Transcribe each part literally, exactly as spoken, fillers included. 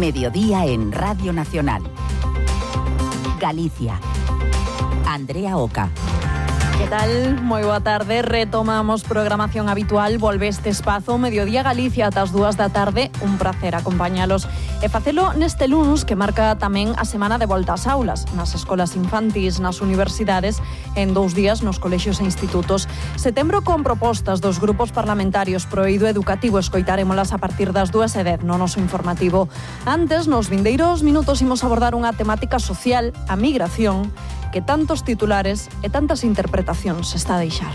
Mediodía en Radio Nacional. Galicia. Andrea Oca. Que tal? Moi boa tarde. Retomamos programación habitual. Volve este espazo Mediodía Galicia ata as dúas da tarde. Un placer acompañalos e facelo neste luns que marca tamén a semana de volta ás aulas nas escolas infantís, nas universidades, en dous días nos colexios e institutos. Setembro con propostas dos grupos parlamentarios pro eido educativo. Escoitarémolas a partir das dúas e dez no noso informativo. Antes, nos vindeiros minutos imos abordar unha temática social, a migración, que tantos titulares e tantas interpretacións está a deixar.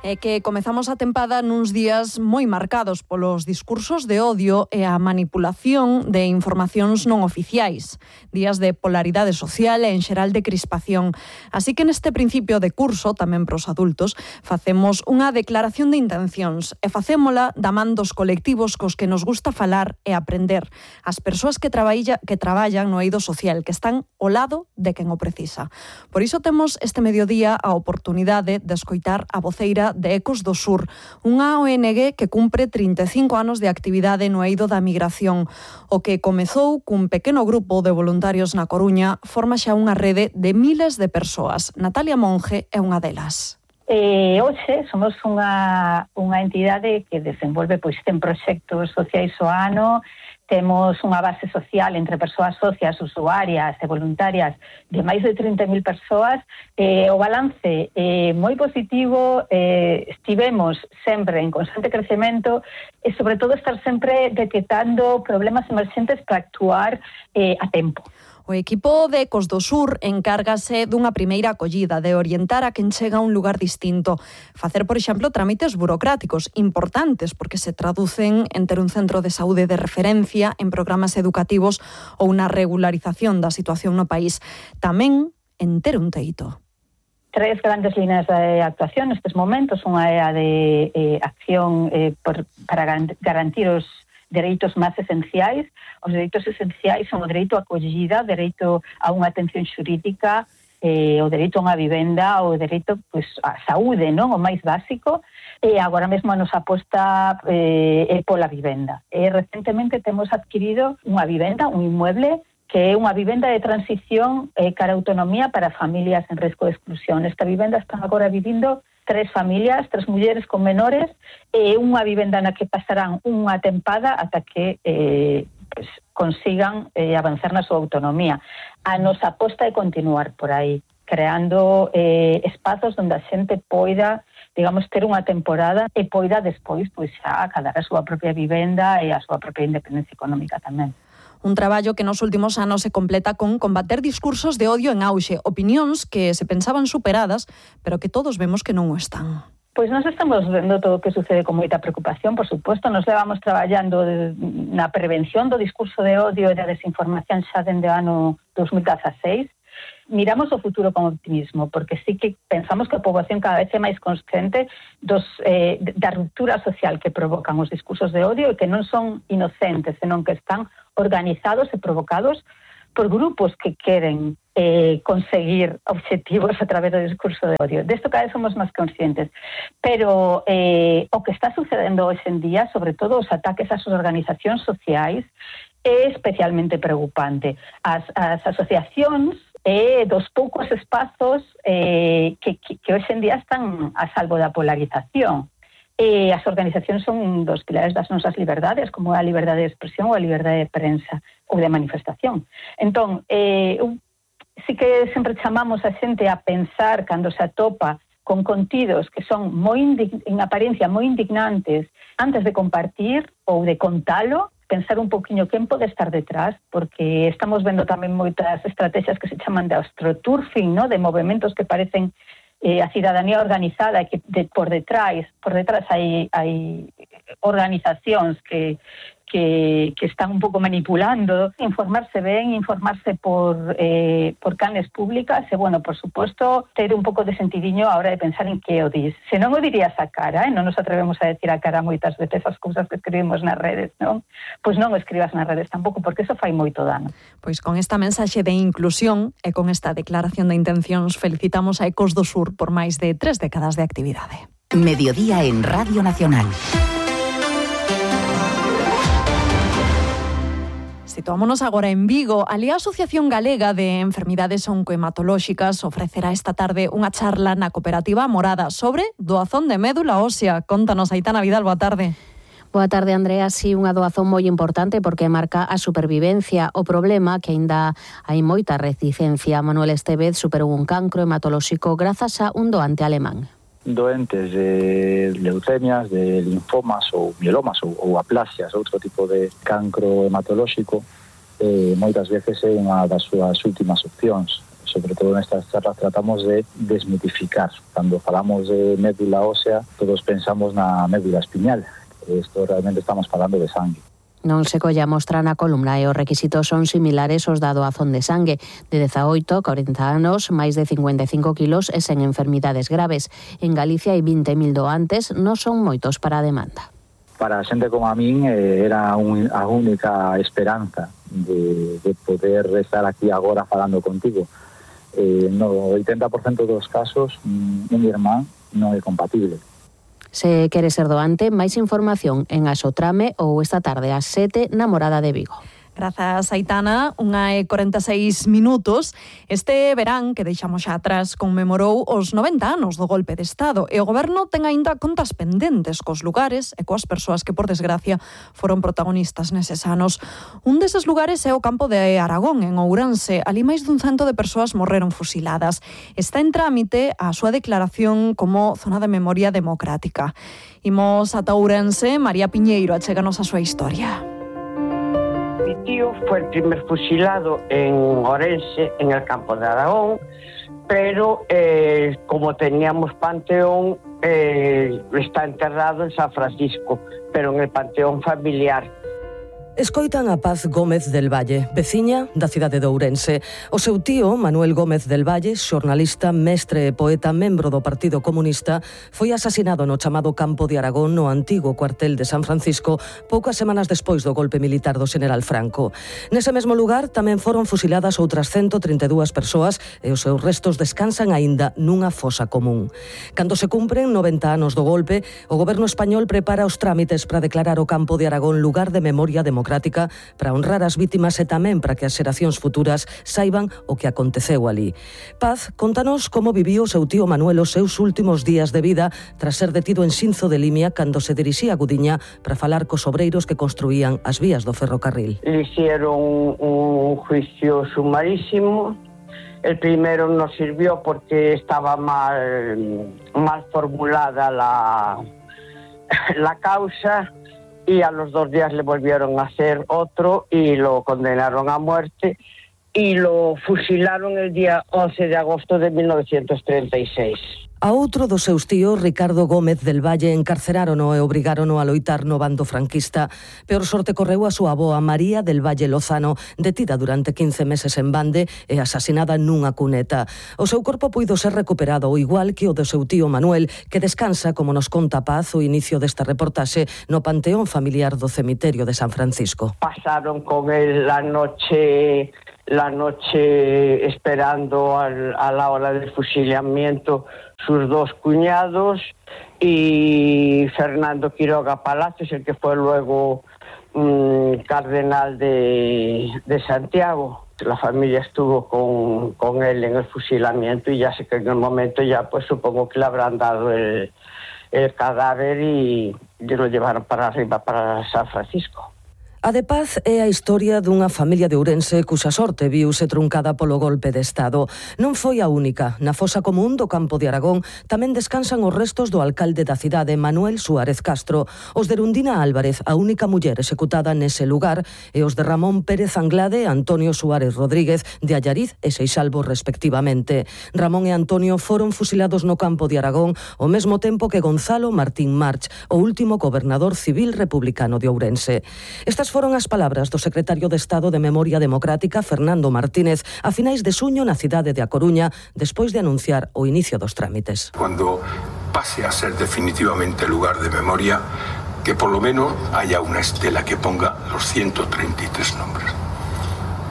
É que comezamos a tempada nuns días moi marcados polos discursos de odio e a manipulación de informacións non oficiais. Días de polaridade social e, en xeral, de crispación. Así que neste principio de curso, tamén pros adultos, facemos unha declaración de intencións e facémola da man dos colectivos cos que nos gusta falar e aprender. As persoas que, traballa, que traballan no eido social, que están ao lado de quen o precisa. Por iso temos este mediodía a oportunidade de escoitar a voceira de Ecos do Sur, unha O N G que cumpre trinta e cinco anos de actividade no eido da migración. O que comezou cun pequeno grupo de voluntarios na Coruña forma xa unha rede de miles de persoas. Natalia Monge é unha delas. Eh, hoxe somos unha, unha entidade que desenvolve pois ten proxectos sociais o ano. Temos unha base social entre persoas socias, usuarias e voluntarias de máis de trinta mil persoas. Eh, o balance é eh, moi positivo, eh, estivemos sempre en constante crecemento e, sobre todo, estar sempre detectando problemas emerxentes para actuar eh, a tempo. O equipo de Ecos do Sur encárgase dunha primeira acollida, de orientar a quen chega a un lugar distinto. Facer, por exemplo, trámites burocráticos importantes porque se traducen en ter un centro de saúde de referencia, en programas educativos ou na regularización da situación no país. Tamén en ter un teito. Tres grandes líneas de actuación nestes momentos. Unha é a de eh, acción eh, por, para garantir os dereitos máis esenciais. Os dereitos esenciais son o dereito a acollida, o dereito a unha atención xurídica, eh, o dereito a unha vivenda, o dereito pois, á saúde, non? O máis básico. E agora mesmo a nosa aposta eh, é pola vivenda. E recentemente temos adquirido unha vivenda, un inmueble, que é unha vivenda de transición eh, cara a autonomía para familias en risco de exclusión. Esta vivenda están agora vivindo tres familias, tres mulleres con menores, e unha vivenda na que pasarán unha tempada ata que eh, pues, consigan eh, avanzar na súa autonomía. A nosa aposta é continuar por aí, creando eh, espazos onde a xente poida, digamos, ter unha temporada e poida despois pois, xa acadar a súa propia vivenda e a súa propia independencia económica tamén. Un traballo que nos últimos anos se completa con combater discursos de odio en auxe, opinións que se pensaban superadas, pero que todos vemos que non o están. Pois nós estamos vendo todo o que sucede con moita preocupación, por suposto. Nos levamos traballando na prevención do discurso de odio e da desinformación xa dende o ano dos mil dieciséis. Miramos o futuro con optimismo, porque sí que pensamos que a poboación cada vez é máis consciente dos, eh, da ruptura social que provocan os discursos de odio e que non son inocentes, senón que están organizados e provocados por grupos que queren eh, conseguir objetivos a través do discurso de odio. Desto cada vez somos máis conscientes. Pero eh, o que está sucedendo hoxe en día, sobre todo os ataques ás organizacións sociais, é especialmente preocupante. As, as asociacións e dos poucos espazos eh, que, que, que hoxe en día están a salvo da polarización. E as organizacións son un dos pilares das nosas liberdades, como a liberdade de expresión ou a liberdade de prensa ou de manifestación. Entón, eh, sí que sempre chamamos a xente a pensar cando se atopa con contidos que son moi en apariencia moi indignantes antes de compartir ou de contalo, pensar un poquinho quen pode estar detrás, porque estamos vendo tamén moitas estrategias que se chaman de astroturfing, ¿no? De movimentos que parecen eh, a cidadanía organizada, que de, por detrás por detrás hai, hai organizacións que Que, que están un pouco manipulando. Informarse ben, informarse por, eh, por canles públicas e, bueno, por suposto, ter un pouco de sentidiño a hora de pensar en que o dis. Se non o dirías a cara, eh? Non nos atrevemos a decir a cara moitas veces as cousas que escribimos nas redes, non? Pois non o escribas nas redes tampouco, porque eso fai moito dano. Pois con esta mensaxe de inclusión e con esta declaración de intencións felicitamos a Ecos do Sur por máis de tres décadas de actividade. Mediodía en Radio Nacional. Situámonos agora en Vigo. Ali a Asociación Galega de Enfermidades Oncohematolóxicas ofrecerá esta tarde unha charla na cooperativa Morada sobre doazón de médula ósea. Contanos, Aitana Vidal, boa tarde. Boa tarde, Andrea. Si, unha doazón moi importante porque marca a supervivencia. O problema que aínda hai moita reticencia. Manuel Estevez superou un cancro hematolóxico grazas a un doante alemán. Doentes de leucemias, de linfomas ou mielomas ou, ou aplasias, outro tipo de cancro hematolóxico, eh, moitas veces é unha das súas últimas opcións. Sobre todo nestas charlas tratamos de desmitificar. Cando falamos de médula ósea, todos pensamos na médula espiñal. Isto realmente estamos falando de sangue. Non se colla mostra na columna e os requisitos son similares aos da doazón de sangue, de dezaoito a corenta anos, máis de cincuenta e cinco kilos e sen enfermidades graves. En Galicia hai vinte mil doantes, non son moitos para a demanda. Para a xente como a min eh, era un, a única esperanza de, de poder estar aquí agora falando contigo. Eh, no oitenta por cento dos casos, un irmán non é compatible. Se quere ser doante, máis información en Asotrame ou esta tarde ás sete na Morada de Vigo. Grazas, Aitana. Unha e corenta e seis minutos. Este verán, que deixamos xa atrás, conmemorou os noventa anos do golpe de Estado e o Goberno ten aínda contas pendentes cos lugares e coas persoas que, por desgracia, foron protagonistas neses anos. Un deses lugares é o campo de Aragón, en Ourense. Ali máis dun cento de persoas morreron fusiladas. Está en trámite a súa declaración como zona de memoria democrática. Imos ata Ourense. María Piñeiro, achéganos a súa historia. Mi tío fue el primer fusilado en Ourense, en el campo de Aragón, pero eh, como teníamos panteón, eh, está enterrado en San Francisco, pero en el panteón familiar. Escoitan a Paz Gómez del Valle, veciña da cidade de Ourense. O seu tío, Manuel Gómez del Valle, xornalista, mestre e poeta, membro do Partido Comunista, foi asasinado no chamado Campo de Aragón, no antigo cuartel de San Francisco, poucas semanas despois do golpe militar do Xeneral Franco. Nese mesmo lugar tamén foron fusiladas outras ciento trinta e dúas persoas e os seus restos descansan aínda nunha fosa común. Cando se cumpren noventa anos do golpe, o goberno español prepara os trámites para declarar o Campo de Aragón lugar de memoria democrática para honrar as vítimas e tamén para que as xeracións futuras saiban o que aconteceu ali. Paz, contanos como viviu o seu tío Manuel os seus últimos días de vida tras ser detido en Xinzo de Limia cando se dirixía a Gudiña para falar cos obreiros que construían as vías do ferrocarril. Le hicieron un juicio sumarísimo. El primero no sirvió porque estaba mal, mal formulada la, la causa. Y a los dos días le volvieron a hacer otro y lo condenaron a muerte y lo fusilaron el día once de agosto de mil novecientos treinta y seis. A outro dos seus tíos, Ricardo Gómez del Valle, encarcerárono e obrigárono a loitar no bando franquista. Peor sorte correu a súa avoa María del Valle Lozano, detida durante quince meses en Bande e asasinada nunha cuneta. O seu corpo puido ser recuperado, ao igual que o do seu tío Manuel, que descansa, como nos conta Paz, o inicio desta reportaxe, no panteón familiar do cemiterio de San Francisco. Pasaron con él la noche... la noche esperando al, a la hora del fusilamiento sus dos cuñados y Fernando Quiroga Palacios, el que fue luego mmm, cardenal de, de Santiago. La familia estuvo con, con él en el fusilamiento y ya sé que en el momento ya pues supongo que le habrán dado el, el cadáver y, y lo llevaron para arriba, para San Francisco. A de Paz é a historia dunha familia de Ourense cuxa sorte viuse truncada polo golpe de Estado. Non foi a única. Na fosa común do Campo de Aragón tamén descansan os restos do alcalde da cidade, Manuel Suárez Castro, os de Erundina Álvarez, a única muller executada nese lugar, e os de Ramón Pérez Anglade e Antonio Suárez Rodríguez, de Allariz e Seixalbo, respectivamente. Ramón e Antonio foron fusilados no Campo de Aragón ao mesmo tempo que Gonzalo Martín March, o último gobernador civil republicano de Ourense. Estas foron as palabras do secretario de Estado de Memoria Democrática, Fernando Martínez, a finais de suño na cidade de A Coruña, despois de anunciar o inicio dos trámites. Cuando pase a ser definitivamente lugar de memoria, que por lo menos haya una estela que ponga los ciento treinta y tres nombres,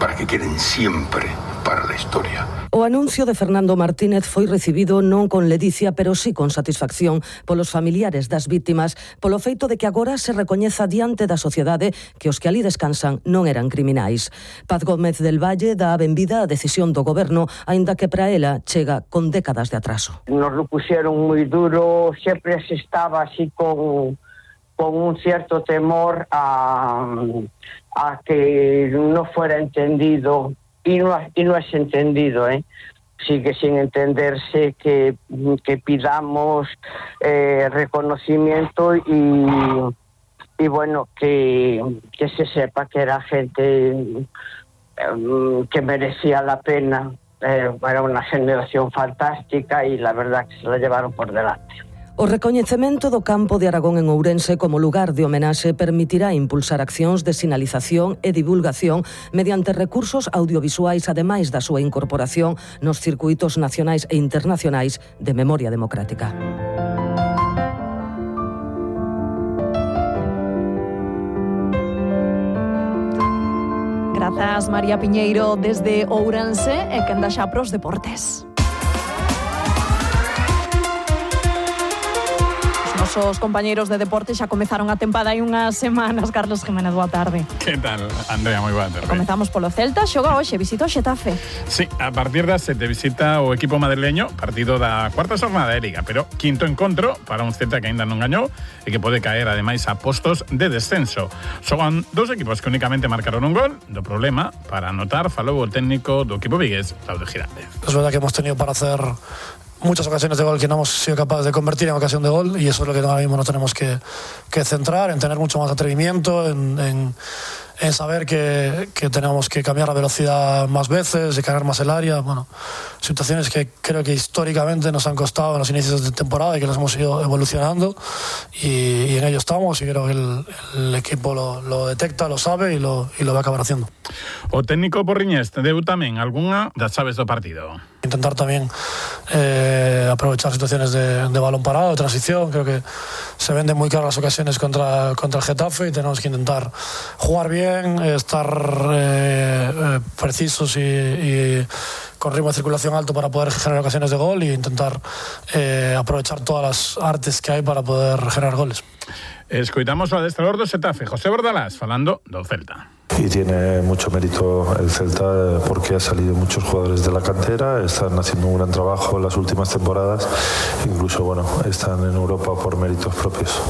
para que queden siempre para la la historia. O anuncio de Fernando Martínez foi recibido non con ledicia, pero sí con satisfacción polos familiares das vítimas, polo feito de que agora se recoñeza diante da sociedade que os que ali descansan non eran criminais. Paz Gómez del Valle dá a benvida á decisión do goberno, aínda que para ela chega con décadas de atraso. Nos lo pusieron moi duro, sempre se estaba así con, con un cierto temor a, a que no fuera entendido, y no, y no es entendido, ¿eh? Sigue sin entenderse que, que pidamos eh, reconocimiento y, y bueno, que, que se sepa que era gente eh, que merecía la pena. Eh, era una generación fantástica y la verdad que se la llevaron por delante. O recoñecemento do campo de Aragón en Ourense como lugar de homenaxe permitirá impulsar accións de sinalización e divulgación mediante recursos audiovisuais, ademais da súa incorporación nos circuitos nacionais e internacionais de memoria democrática. Grazas, María Piñeiro, desde Ourense, e quen da xa pros deportes. Os compañeiros de deporte xa comezaron a tempada hai unhas semanas. Carlos Jiménez, boa tarde. Que tal, Andrea? Moi boa tarde. Comezamos polo Celta, xoga hoxe, visita o Xetafe. Sí, a partir das sete visita o equipo madrileño, partido da cuarta xornada de Liga, pero quinto encontro para un Celta que aínda non gañou e que pode caer ademais a postos de descenso. Son dous equipos que únicamente marcaron un gol. Do problema para anotar falou o técnico do equipo vigués, Claudio Giraldez. Es verdad que hemos tenido para hacer muchas ocasiones de gol que no hemos sido capaces de convertir en ocasión de gol, y eso es lo que ahora mismo nos tenemos que, que centrar, en tener mucho más atrevimiento, en, en, en saber que, que tenemos que cambiar la velocidad más veces, de cargar más el área. Bueno, situaciones que creo que históricamente nos han costado en los inicios de temporada y que nos hemos ido evolucionando, y, y en ello estamos, y creo que el, el equipo lo, lo detecta, lo sabe y lo, y lo va a acabar haciendo. O técnico Porriñés deu tamén algunha das chaves do partido. Intentar también eh, aprovechar situaciones de, de balón parado, de transición. Creo que se venden muy claras las ocasiones contra, contra el Getafe, y tenemos que intentar jugar bien, estar eh, eh, precisos y, y con ritmo de circulación alto para poder generar ocasiones de gol, e intentar eh, aprovechar todas las artes que hay para poder generar goles. Escoitamos o adestrador do Xetafe, José Bordalás, falando do Celta. Y tiene mucho mérito el Celta porque ha salido muchos jugadores de la cantera, están haciendo un gran trabajo en las últimas temporadas, incluso bueno, están en Europa por méritos propios.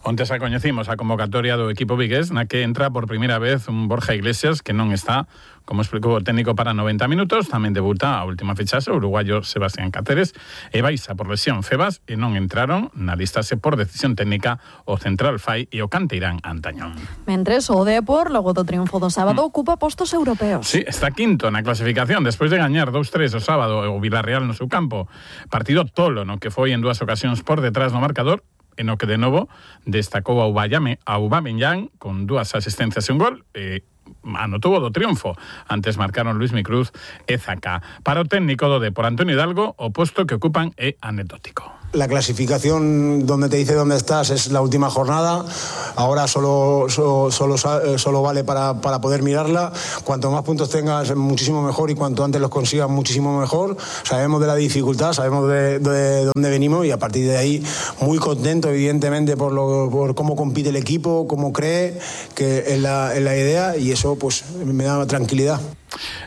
Onte xa coñecimos a convocatoria do equipo vigués, na que entra por primeira vez un Borja Iglesias que non está, como explicou o técnico, para noventa minutos. Tamén debuta a última fichaxe o uruguayo Sebastián Cáceres, e baixa por lesión Febas, e non entraron na listase por decisión técnica o central Fai e o canteirán Antañón. Mentres o Depor, logo do triunfo do sábado, mm. ocupa postos europeos. Sí, está quinto na clasificación despois de gañar dos tres o sábado o Villarreal no seu campo. Partido tolo, no que foi en dúas ocasións por detrás no marcador, en o que de novo destacou a Aubameyang con dúas asistencias e un gol, e anotou o do triunfo. Antes marcaron Luismi Cruz e Zaka. Para o técnico do Depor, Antonio Hidalgo, o posto que ocupan é anecdótico. La clasificación donde te dice dónde estás es la última jornada. Ahora solo, solo, solo, solo vale para, para poder mirarla. Cuanto más puntos tengas, muchísimo mejor, y cuanto antes los consigas, muchísimo mejor. Sabemos de la dificultad, sabemos de, de dónde venimos, y a partir de ahí muy contento, evidentemente, por, lo, por cómo compite el equipo, cómo cree que es la, es la idea, y eso pues me da tranquilidad.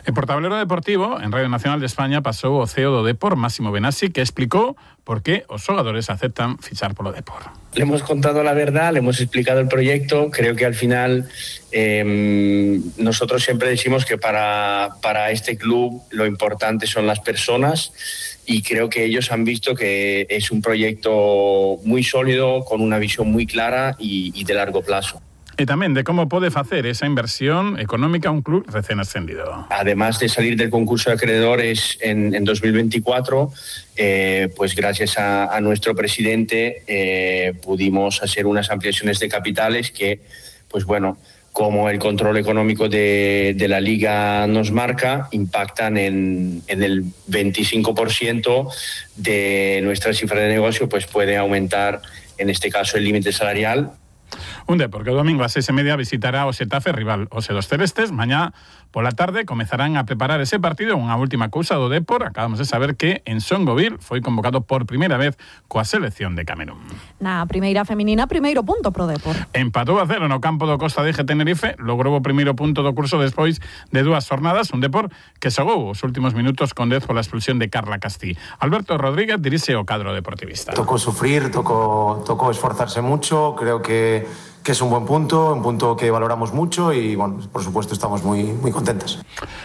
En Portablero Deportivo, en Radio Nacional de España, pasou o C E O do Depor, Máximo Benassi, que explicó por qué os xogadores aceptan fichar polo Depor. Le hemos contado la verdad, le hemos explicado el proyecto. Creo que al final eh, nosotros siempre decimos que para, para este club lo importante son las personas, y creo que ellos han visto que es un proyecto muy sólido, con una visión muy clara y, y de largo plazo. E tamén de como pode facer esa inversión económica un club recén ascendido. Además de salir del concurso de acreedores en, en dos mil veinticuatro, eh, pues gracias a, a nuestro presidente eh, pudimos hacer unas ampliaciones de capitales que, pues bueno, como el control económico de, de la Liga nos marca, impactan en, en el veinticinco por ciento de nuestra cifra de negocio, pues puede aumentar, en este caso, el límite salarial. Un Depor que o domingo a seis e media visitará o Xetafe, rival os dos celestes. Mañá pola tarde comezarán a preparar ese partido. Unha última cousa do Depor, acabamos de saber que en Songoville foi convocado por primeira vez coa selección de Camerún. Na primeira feminina, primeiro punto pro Depor. Empatou a cero no campo do Costa de G Tenerife, logrou o primeiro punto do curso despois de dúas jornadas, un Depor que xogou os últimos minutos con dez pola expulsión de Carla Castí. Alberto Rodríguez dirixe o cadro deportivista. Tocó sufrir, tocó, tocó esforzarse mucho, creo que que es un buen punto, un punto que valoramos mucho y, bueno, por supuesto, estamos muy, muy contentos.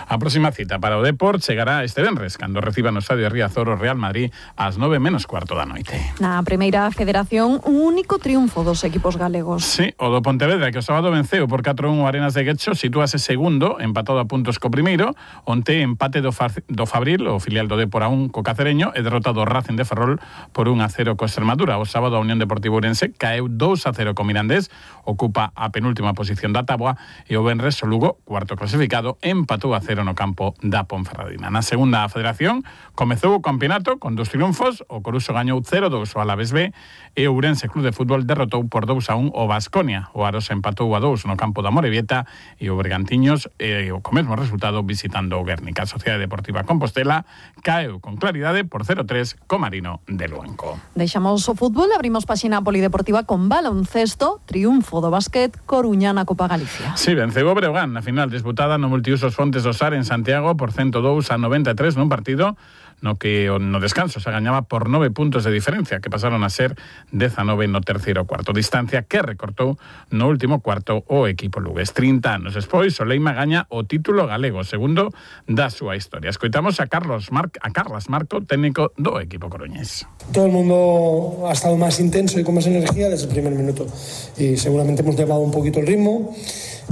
A próxima cita para o Depor chegará este venres, cando reciba no estadio Riazor o Real Madrid ás nove menos cuarto da noite. Na primeira federación, un único triunfo dos equipos galegos. Sí, o do Pontevedra, que o sábado venceu por catro a un o Arenas de Guecho, sitúase segundo, empatado a puntos co primeiro. Onte empate do, Fa do Fabril, o filial do Depor a un co Cacereño, e derrotado o Racing de Ferrol por un a cero co Extremadura. O sábado a Unión Deportiva Ourense caeu dous a cero co Mirandés, ocupa a penúltima posición da táboa, e o venres o Lugo, cuarto clasificado, empatou a cero no campo da Ponferradina. Na segunda federación comezou o campeonato con dos triunfos. O Coruso gañou cero a dous o Alavés B e o Ourense Club de Fútbol derrotou por dous a un o Baskonia. O Aros empatou a dous no campo da Morevieta e o Bergantiños, e o co mesmo resultado visitando o Guernica. A Sociedade Deportiva Compostela caeu con claridade por cero a tres co Marino de Luenco. Deixamos o fútbol, abrimos páxina polideportiva con baloncesto, triunfo do básquet Coruña na Copa Galicia. Sí, venceu o Breogán na final disputada no multiusos Fontes do Sar en Santiago por ciento dous a noventa e tres nun partido no que no descanso se gañaba por nove puntos de diferencia, que pasaron a ser dezanove no terceiro cuarto, distancia que recortou no último cuarto o equipo lugués. trinta anos despois, o Leima gaña o título galego, segundo da súa historia. Escoitamos a Carlos Mar a Carlas Marco, técnico do equipo coruñés. Todo el mundo ha estado más intenso y con más energía desde el primer minuto, y seguramente hemos llevado un poquito el ritmo,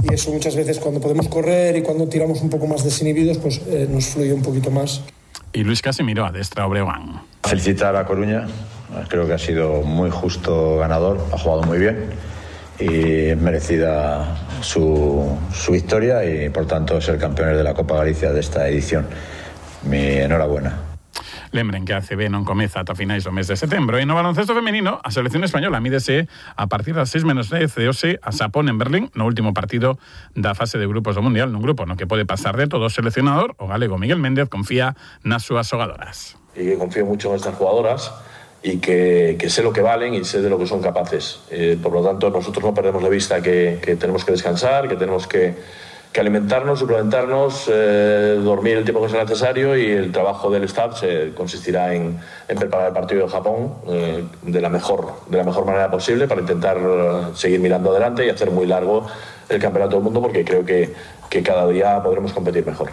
y eso muchas veces cuando podemos correr y cuando tiramos un poco más desinhibidos, pues eh, nos fluye un poquito más. Y Luis Casimiro adestra a Breogán. Felicitar a Coruña, creo que ha sido muy justo ganador, ha jugado muy bien y es merecida su, su victoria y por tanto ser campeones de la Copa Galicia de esta edición. Mi enhorabuena. Lembren que a C B non comeza ata finais do mes de setembro. E no baloncesto femenino, a selección española mídese a partir das seis menos dez de hoxe a Xapón en Berlín no último partido da fase de grupos do Mundial, nun grupo no que pode pasar de todo. O seleccionador, o galego Miguel Méndez, confía nas súas xogadoras. Y que confío mucho en estas jugadoras y que, que sé lo que valen y sé de lo que son capaces. Eh, por lo tanto, nosotros no perdemos de vista que, que tenemos que descansar, que tenemos que que alimentarnos, suplementarnos, eh, dormir el tiempo que sea necesario, y el trabajo del staff se consistirá en, en preparar el partido de Japón eh, de la mejor de la mejor manera posible para intentar uh, seguir mirando adelante y hacer muy largo el Campeonato del Mundo, porque creo que, que cada día podremos competir mejor.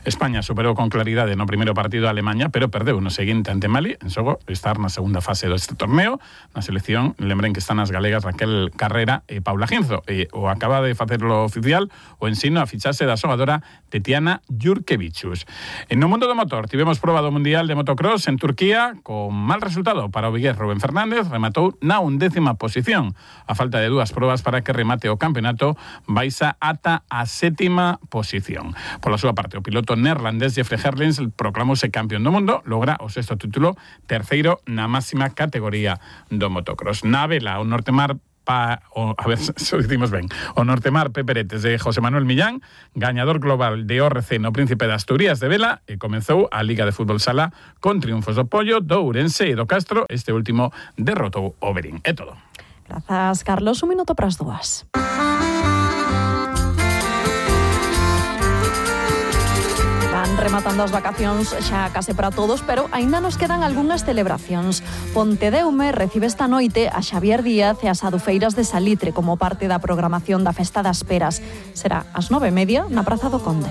España superou con claridade no primeiro partido a Alemanha, pero perdeu no seguinte ante Mali, en xogo estar na segunda fase deste torneo. Na selección, lembren que están as galegas Raquel Carrera e Paula Ginzo, e o acaba de facerlo oficial o ensino a fichase da xogadora Tetiana Jurkevichus. En no mundo do motor, tivemos proba do Mundial de Motocross en Turquía, con mal resultado para o vigués Rubén Fernández, rematou na undécima posición. A falta de dúas probas para que remate o campeonato, baixa ata a sétima posición. Pola súa parte, o piloto neerlandés Jeffrey Herlings proclamouse campeón do mundo, logra o sexto título, terceiro na máxima categoría do motocross. Na vela, o Nortemar Pa, o, a ver se o dicimos ben, o Nortemar Peperetes de José Manuel Millán, gañador global de O R C no Príncipe de Asturias de vela, e comezou a Liga de Fútbol Sala con triunfos do Pollo, do Ourense e do Castro. Este último derrotou o Berín. É todo. Grazas, Carlos. Un minuto para as dúas. Rematando as vacacións xa case para todos, pero aínda nos quedan algunhas celebracións. Pontedeume recibe esta noite a Xavier Díaz e as adufeiras de Salitre como parte da programación da Festa das Peras. Será ás nove e media na Praza do Conde.